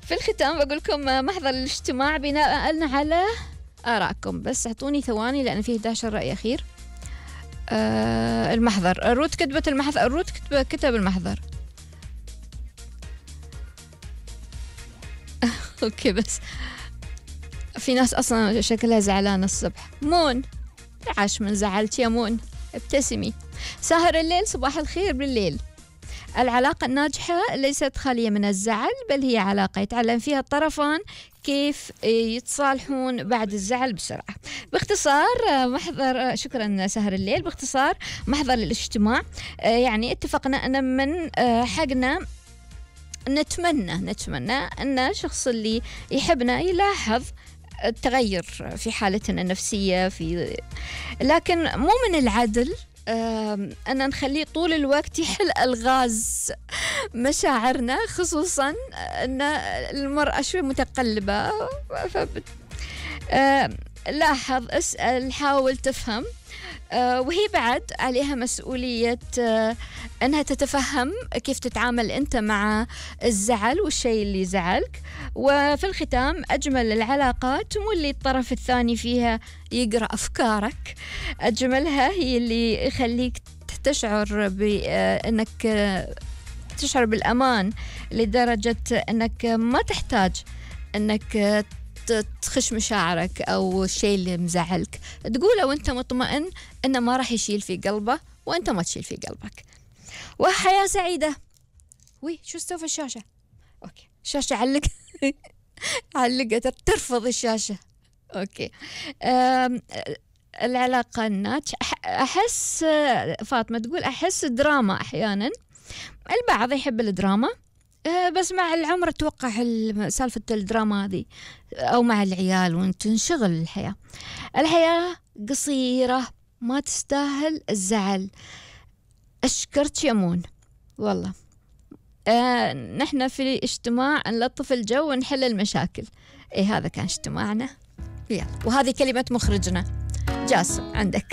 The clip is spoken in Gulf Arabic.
في الختام بقول لكم محضر الاجتماع بناء على آرائكم، بس اعطوني ثواني لأن فيه 11 رأي أخير. المحضر، روت كتبت المحضر، روت كتب المحضر. اوكي، بس في ناس اصلا شكلها زعلانه الصبح. مون، عاش من زعلت يا مون، ابتسمي. ساهر الليل، صباح الخير بالليل. العلاقة الناجحة ليست خالية من الزعل، بل هي علاقة يتعلم فيها الطرفان كيف يتصالحون بعد الزعل بسرعة. باختصار محضر، شكرا سهر الليل، باختصار محضر الاجتماع يعني اتفقنا أن من حقنا نتمنى أن الشخص اللي يحبنا يلاحظ التغير في حالتنا النفسية، لكن مو من العدل أن نخليه طول الوقت يحل ألغاز مشاعرنا، خصوصا أن المرأة شوي متقلبة. لاحظ، اسأل، حاول تفهم، وهي بعد عليها مسؤولية أنها تتفهم كيف تتعامل أنت مع الزعل والشيء اللي يزعلك. وفي الختام، أجمل العلاقات مو اللي الطرف الثاني فيها يقرأ أفكارك، أجملها هي اللي يخليك تشعر بأنك تشعر بالأمان لدرجة أنك ما تحتاج أنك تخش مشاعرك أو الشيء اللي مزعلك تقوله وأنت مطمئن أنه ما راح يشيل في قلبه وأنت ما تشيل في قلبك. وحياة سعيدة. شو استوى في الشاشة؟ أوكي، الشاشة علقت، ترفض الشاشة. أوكي. العلاقة الناجحة، أحس فاطمة تقول أحس دراما أحيانا، البعض يحب الدراما، بس مع العمر أتوقع سالفة الدراما هذه، أو مع العيال وانت تنشغل الحياة قصيرة، ما تستاهل الزعل. أشكرت يمون والله. نحن في اجتماع نلطف الجو ونحل المشاكل. هذا كان اجتماعنا. يلا، وهذه كلمة مخرجنا جاسم، عندك.